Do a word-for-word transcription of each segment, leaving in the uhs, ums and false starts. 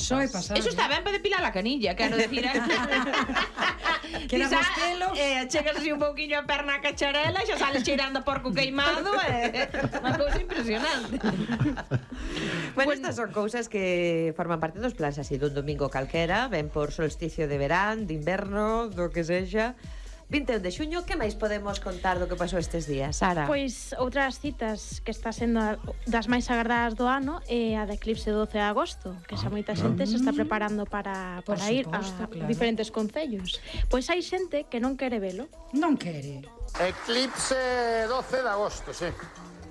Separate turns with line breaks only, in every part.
Eso é pasar.
Eso está ben para depilar a canilla, quero decir.
Que era Bostelo.
Eh, chegas así un pouquiño a perna a cacharela, xa sales cheirando a porco queimado, é eh, unha cousa impresionante.
Bueno, estas son cousas que forman parte dos plans así dun domingo calquera, ben por solsticio de verán, de inverno, do que sexa. vinte e un de xuño, que máis podemos contar do que pasou estes días, Sara?
Pois outras citas que está sendo das máis agardadas do ano é a de eclipse doce de agosto, que xa moita xente se está preparando para, para ir a claro. diferentes concellos. Pois hai xente que non quere velo.
Non quere.
Eclipse doce de agosto, sí.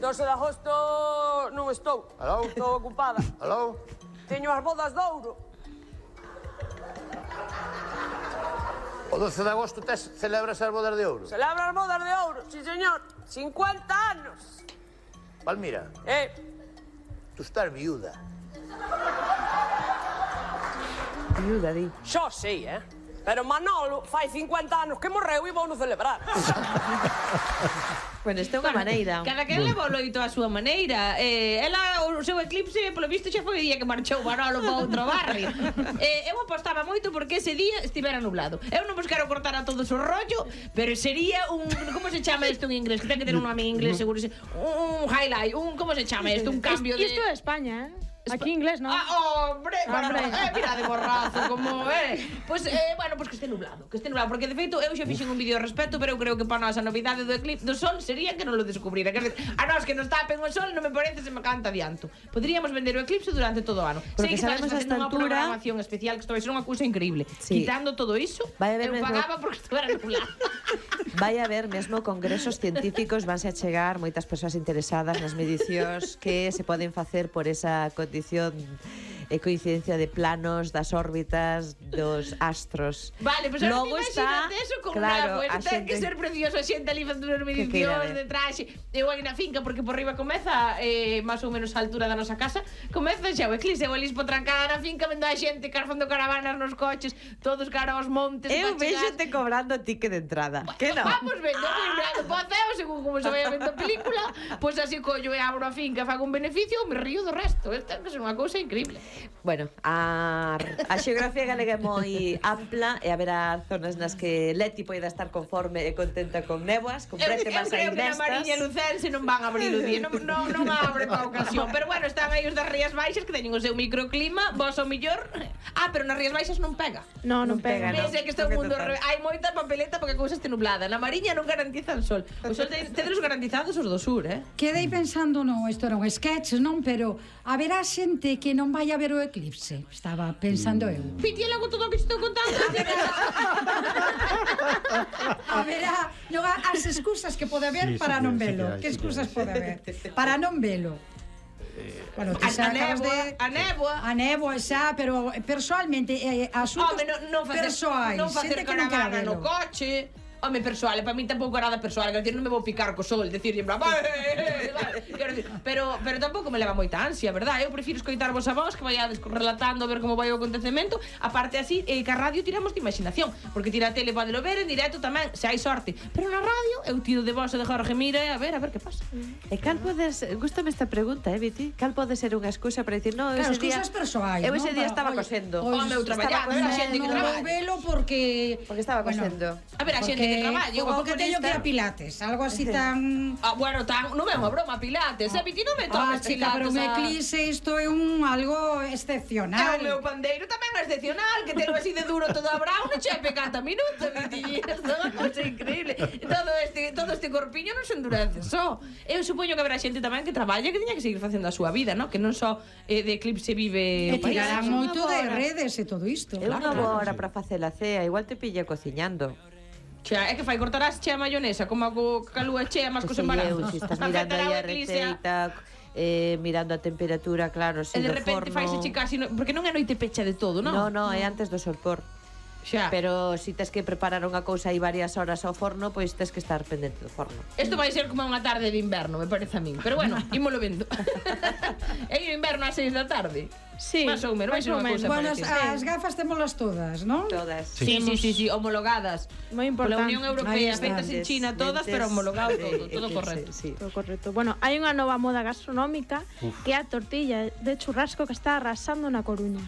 doce de agosto non estou.
Aló?
Estou ocupada.
Aló?
Teño as bodas de ouro.
O doce de agosto tes celebras as bodas de ouro?
Celebra as bodas de ouro, sí, señor. cincuenta anos.
Palmira,
Eh,
tú estás viuda.
Viuda, di.
xo sei, eh? Pero Manolo fai cincuenta anos que morreu e vou no celebrar.
Bueno, esta é unha maneira.
Cada quen leva o loito á súa maneira. Eh, ela, o seu eclipse, polo visto, xa foi o día que marchou Manolo para outro barrio. Eh, eu apostaba moito porque ese día estivera nublado. Eu non vos quero cortar a todos o rollo, pero sería un... Como se chama isto en inglés? Que ten que ter un nome en inglés, seguro. Un highlight, un... Como se chama isto? Un cambio de...
Isto é España, eh? Aquí inglés, non?
Ah, hombre, bueno,
Hombre.
eh, mira de borrazo, como é. Pois, pues, eh, bueno, pois pues que este nublado, que este nublado, porque de feito eu xa fixen un vídeo ao respecto, pero eu creo que para nós a novidade do eclipse do sol sería que non lo descubrira. Que a nós que nos tapen o sol non me parece se me canta adianto. Poderíamos vender o eclipse durante todo o ano.
Porque
Sei que
sabemos
estamos
esta
facendo unha
altura-
programación especial que isto vai ser unha cousa increíble.
Sí.
Quitando todo iso,
Vai haber
eu
mesmo-
pagaba porque estuvera nublado.
Vai haber mesmo congresos científicos, vanse a chegar moitas persoas interesadas nas medicións que se poden facer por esa condición e coincidencia de planos das órbitas dos astros.
Vale, pois pues
Logo
ahora
está,
imagínate eso con
claro,
una, pues,
a
ten que
xente-
ser precioso a xente ali facendo as
Que queira
medicións
ver.
de traxe. Eu aí na finca, porque por riba comeza eh, máis ou menos a altura da nosa casa, comeza xa o eclipse, eu ali trancada na finca vendo a xente carfando caravanas nos coches, todos cara aos montes.
Eu
pa chegar.
vexo te cobrando ticket de entrada. Que non?
Vamos vendo, ah. Poceo, según como se vai vendo a película, pois pues así collo e abro a finca, fago un beneficio, me río do resto. Isto ten que ser unha cousa increíble.
Bueno, a, a xeografía galega é moi ampla e haberá zonas nas que Leti poida estar conforme e contenta con néboas, con
Eu, eu
prétemas
creo
aí
que na Mariña
destas.
Lucense non van a abrir o día, non, non, non abre para a ocasión. Pero bueno, están aí os das Rías Baixas que teñen o seu microclima, vos ao millor. Ah, pero nas Rías Baixas non pega.
No, non
Non pega,
pega.
non.
Ves, é que está o
Porque
mundo
total.
re... Hai moita papeleta porque a cousa este nublada. Na Mariña non garantizan sol. O sol te- tedes garantizados os do sur, eh?
Quedei pensando, non, isto era un sketch, non? Pero haberá xente que non vai a ver o eclipse. Estaba pensando eu.
Piti, e logo todo o que te estou contando.
Haberá non, as excusas que pode haber
Sí, sí
para
que-
non
sí que
velo.
hai,
Que
sí que
excusas
hai.
pode haber? Para non velo. Bueno, ti
A,
xa
a
acabas
néboa,
de...
a néboa.
A néboa xa, pero persoalmente eh, asuntos
Home, non, non facer,
persoais,
non facer
xente que non quera
caravana no
velo.
coche. Home, persoal, para mí tampouco era da persoal, quero decir, non me vou picar co sol, decir, en plan, "Eh, eh, eh", quero decir, pero pero tampouco me leva moita ansia, verdad? Eu prefiro escoitarvos a vos que vaiades relatando a ver como vai o acontecemento, aparte así, eh, que a radio tiramos de imaginación, porque tira a tele podelo ver en directo tamén, se hai sorte, pero na radio eu tiro de vos e de Jorge Mira e a ver, a ver que pasa.
E cal podes, gústame esta pregunta, eh, Viti? Cal pode ser unha excusa para dicir, no,
Claro,
ese día
excusas persoais,
eu
non?
ese día
Para-
estaba
oye,
cosendo.
pois
Home, eu traballando,
estaba
a xente que
non vou
traballa.
velo porque...
Porque estaba cosendo.
A ver, a xente que traballa, o
porque teño que ir a Pilates, algo así tan...
Ah, bueno, tan, non é unha broma, Pilates, eh, Viti, non me
Ah,
toques
chica, pero un
Pilates a-
eclipse isto é un algo
É
excepcional.
o meu pandeiro tamén é excepcional, que telo así de duro todo a brao, non che pecata minutos, Viti, isto é unha cousa increíble. Todo este, todo este corpiño non se endurece só. Eu supoño que haberá xente tamén que traballa que teña que seguir facendo a súa vida, non? Que non só eh, de eclipse vive
E
o país.
tirarán
Unha
moito de
boa hora.
redes e todo isto.
É unha boa hora para facer a cea, igual te pilla cociñando.
Xa, é que fai cortarás che a mayonesa, como a co calúa che, máis cos
Que sei eu,
embarazos.
si estás mirando aí a receita, eh, mirando a temperatura, claro, si
E de
do
repente
forno...
faise che casi, no, porque non é noite pecha de todo, non?
No, no, é antes do solpor.
Xa.
Pero si tes que preparar unha cousa aí varias horas ao forno, pois tes que estar pendente do forno.
Isto vai ser como unha tarde de inverno, me parece a min. Pero bueno, ímolo vendo. É o inverno ás seis da tarde.
Sí,
Más ou menos, vai
máis
ser
ou
unha
menos.
cousa
Bueno, as,
parecida.
as gafas témolas todas, non?
Todas.
Sí, sí, sí, sí, homologadas.
Moi
Pola
importante.
Unión
Ahí
Europea,
está.
feitas en China todas, pero homologado todo, todo correcto.
Sí, sí.
Todo correcto. Bueno, hai unha nova moda gastronómica que é a tortilla de churrasco que está arrasando na Coruña.